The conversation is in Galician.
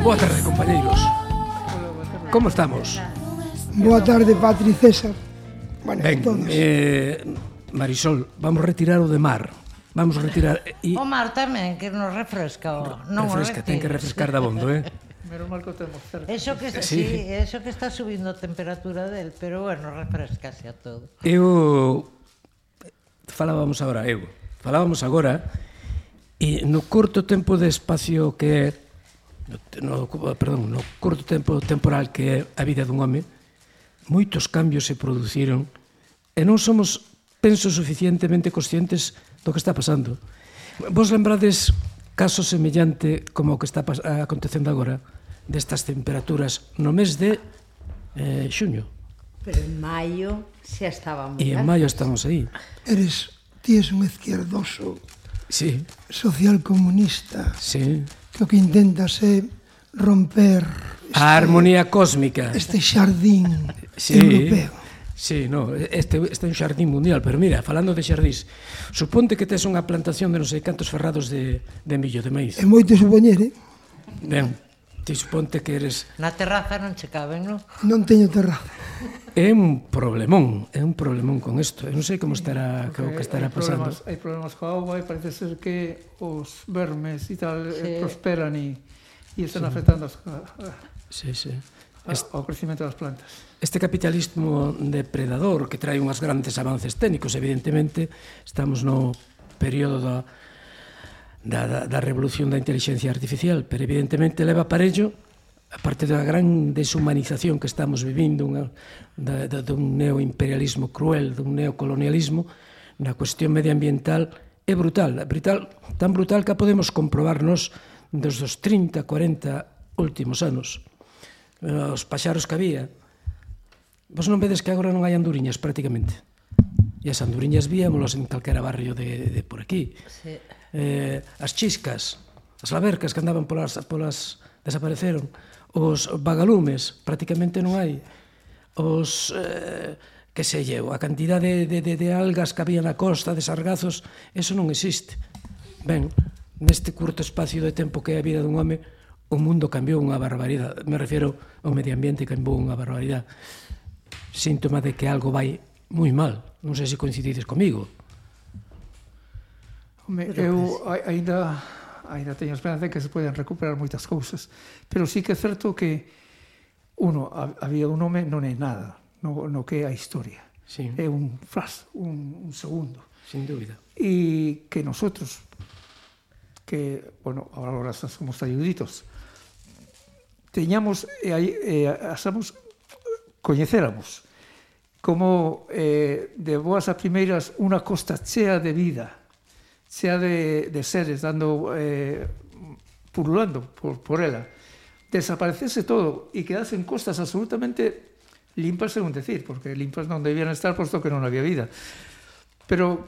Boa tarde, compañeiros. Como estamos? Boa tarde, Patri César. Bueno, Ben, todos. Marisol, vamos retirar o de mar. Vamos retirar... O mar tamén, que nos refresca. Non refresca, ten que refrescar da bondo, Menos mal que o temos cerca. Eso que, Sí. eso que está subindo a temperatura del, pero bueno, refrescase a todo. Falábamos agora e no curto tempo de espacio que é no curto tempo temporal que é a vida dun home, moitos cambios se produciron e non somos, penso, suficientemente conscientes do que está pasando. Vos lembrades caso semellante como o que está acontecendo agora destas temperaturas no mes de xuño? Pero en maio xa estábamos. E en maio estamos aí. Ti és un izquierdoso, Sí, socialcomunista, sí. que o que intentas é romper A armonía cósmica. este xardín Sí. europeo. Sí, no, este é un xardín mundial, pero mira, falando de xardís, suponte que tes unha plantación de non sei cantos ferrados de millo, de maíz. É moito supoñer, Ben, ti suponte que eres... Na terraza non che caben, non? non teño terraza. É un problemón con isto. Eu non sei como estará, o que estará pasando. Hai problemas coa auga e parece ser que os vermes e tal prosperan e están afectando Sí, sí. ao crecimento das plantas. Este capitalismo depredador que trae unhas grandes avances técnicos, evidentemente, estamos no período da revolución da inteligencia artificial, pero evidentemente leva parello, aparte da gran deshumanización que estamos vivindo, dun neoimperialismo cruel, dun neocolonialismo, na cuestión medioambiental é brutal, tan brutal que a podemos comprobarnos dos 30, 40 últimos anos. Os paxaros que había, vos non vedes que agora non hai anduriñas prácticamente, e as anduriñas víamolas en calquera barrio de por aquí. Sí. As chiscas, as labercas que andaban polas desapareceron, os vagalumes prácticamente non hai, os que sei eu, a cantidade de algas que había na costa, de sargazos, eso non existe. Ben, neste curto espacio de tempo que é a vida dun home, o mundo cambiou unha barbaridade. Me refiero ao medio ambiente, cambiou unha barbaridade. Síntoma de que algo vai moi mal. Non sei se coincidides comigo. Eu ainda teño esperanza de que se poden recuperar moitas cousas, pero sí que é certo que a vida dun home non é nada no que é a historia. Sí. É un flash, un segundo. Sin dúbida. E que nosotros, que, bueno, ahora somos ayuditos, teñamos asamos coñecéramos como de boas a primeiras unha costa chea de vida, chea de seres dando pululando por ela, desaparecese todo e quedasen costas absolutamente limpas, según decir, porque limpas non debían estar posto que non había vida, pero